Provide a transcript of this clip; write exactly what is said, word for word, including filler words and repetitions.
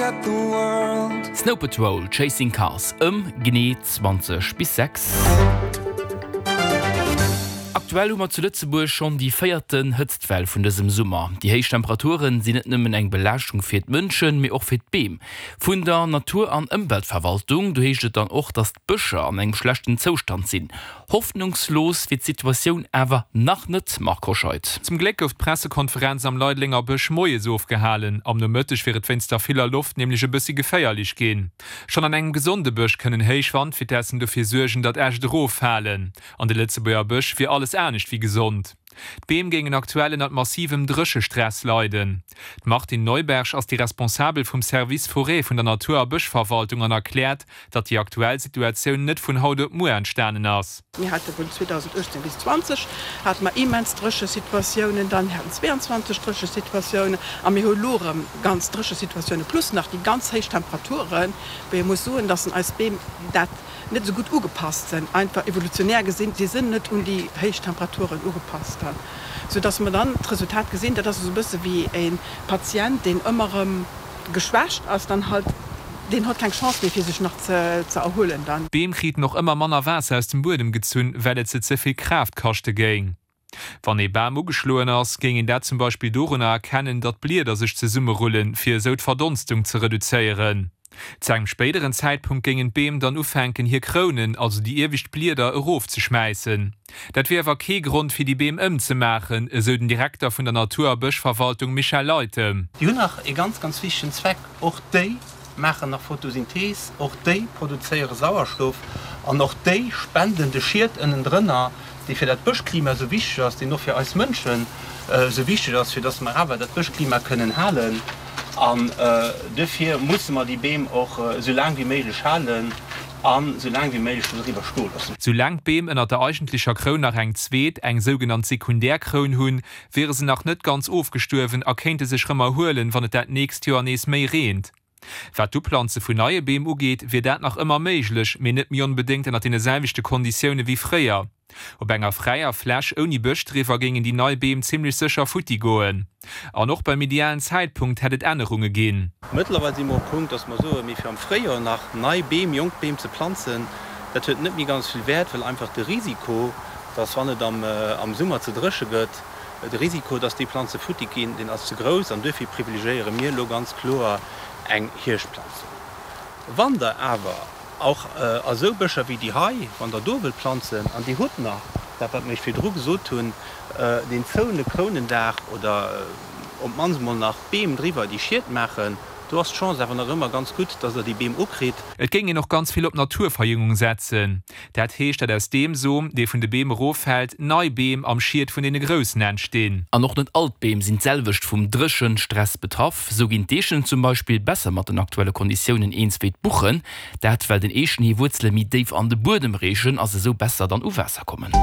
at the world. Snow Patrol, Chasing Cars ëm genee zwanzeg bis sechs. Aktuell hu mer zu Lëtzebuerg schonn déi véierten Hëtztwell vun dësem Summer. Déi héich Temperaturen sinn net nëmmen eng Belaaschtung fir d'Mënschen, mee och fir d'Beem. Vun der Natur an Ëmweltverwaltung do heescht et dann och, datt d'Bëscher an engem schlechten Zoustand sinn. Hoffnungslos wier d'Situatioun awer nach net, Marc Hoscheid. Zum Gléck gouf d'Pressekonferenz am Leidelenger Bësch moies ofgehalen. Am Nomëtteg wier et wéinst der viller Loft nämlech e bëssi geféierlech ginn. Schonn an engem gesonde Bësch kënnen héich Wandvitessen dofir suergen, datt Äscht eroffalen. An de Lëtzebuerger Bësch wier alles anescht wéi gesond. D'Beem géingen aktuell ënnert massivem Dréchestress leiden. D'Martine Neuberg ass déi Responsabel vum Service Forêt vun der Natur a Bëschverwaltung an erkläert, datt déi aktuell Situatioun net vun haut op muer entstanen ass. Mir hate vun zweedausenduechtzéng bis zwanzeg hate mer immens dréche Situatiounen, dann mir haten zweeanzwanzeg dréche Situatiounen a mir hu elo erëm ganz dréche Situatiounen, plus nach déi ganz héich Temperaturen, wou ee muss soen, datt eis Beem dat net esou gutt ugepasst sinn, einfach evolutionär gesinn, si sinn net un déi héich Temperaturen ugepasst, sou dass mer dann d'Resultat gesinn, dat ass esou e bësse wéi e Patient, deen ëmmer erëm geschwächt ass, dann halt, deen huet keng Chance méi fir sech nach ze erhuelen dann. D'Beem kriten och ëmmer manner Waasser aus dem Buedem gezunn, well et se ze vill Kraaft kaschte géing. Wann ee Bam ugeschloen ass, géing een dat zum Beispill dorunner erkennen, datt d'Blieder sech zesummerullen, fir esou d'Verdonstung ze reduzéieren. Zu engem spéideren Zäitpunkt géingen d'Beem dann ufänken, hir Krounen, also déi iewescht Blieder, erofzeschmäissen. Dat wier awer kee Grond, fir déi Beem ëmzemaachen, esou den Direkter vun der Natur a Bëschverwaltung Michel Leytem. Déi hunn nach ee ganz, ganz wichtegen Zweck, Och déi maachen nach Photosynthees, och déi produzéiere Sauerstoff an och déi spenden de Schiet ënnendrënner, dee fir dat Bëschklima esou wichteg ass, deen och fir eis Mënschen esou wichteg ass, fir dass mer awer dat Bëschklima kënnen halen. An duerfir musse mer déi Beem och esou laang wéi méiglech halen an esou laang wéi méiglech do driwwer stoe loossen. Sou laang d'Beem ënnert der eigentlecher Kroun nach eng zweet, eng sougenannt sekundär Kroun hunn, wiere se nach net ganz ofgestuerwen a kéinte sech rëm erhuelen, wann et dat nächst Joer nees méi reent. Wat d'Uplanze vun neie Beem ugeet, wier dat nach ëmmer méiglech, mee net méi onbedéngt ënnert deene selwechte Konditioune wéi fréier. Op enger fräier Fläch ouni Bësch driwwer géingen déi nei Beem zimmlech sécher futti goen. An och beim idealen Zäitpunkt hätt et Ännerunge ginn. Mëttlerweil si mer um Punkt, dass mer soen, mee fir am Fréijoer nach nei Beem, jonk Beem ze planzen, dat huet net méi ganz vill Wäert, well einfach de Risiko, dass wann et am Summer ze dréche gëtt, de Risiko, dass déi Planze futti ginn, deen ass ze grouss. An duerfir privilegiéiere mir elo ganz kloer eng Hierschtplanzung. Wann Der awer och a sou Bëscher wéi déi hei, wann Der do wëllt planzen an Dir hutt nach dat, wat mer Iech virdru gesot hunn, deen zoune Krounendaach oder op d'mannst emol nach Beem driwwer, déi Schied maachen, do ass d'Chance awer nach ëmmer ganz gutt, dass Der déi Beem ukritt. Et géing een och ganz vill op Naturverjüngung setzen. Dat heescht, datt aus deem Som, dee vun de Beem eroffält, nei Beem am Schied vun deene groussen entstinn. An och net all d'Beem sinn d'selwecht vum Dréchenstress betraff. Sou ginn d'Eechen zum Beispill besser mat den aktuelle Konditiounen eens wéi d'Buchen. Dat well den Eechen hir Wuerzele méi déif an de Buedem reechen a se sou besser dann u Waasser kommen.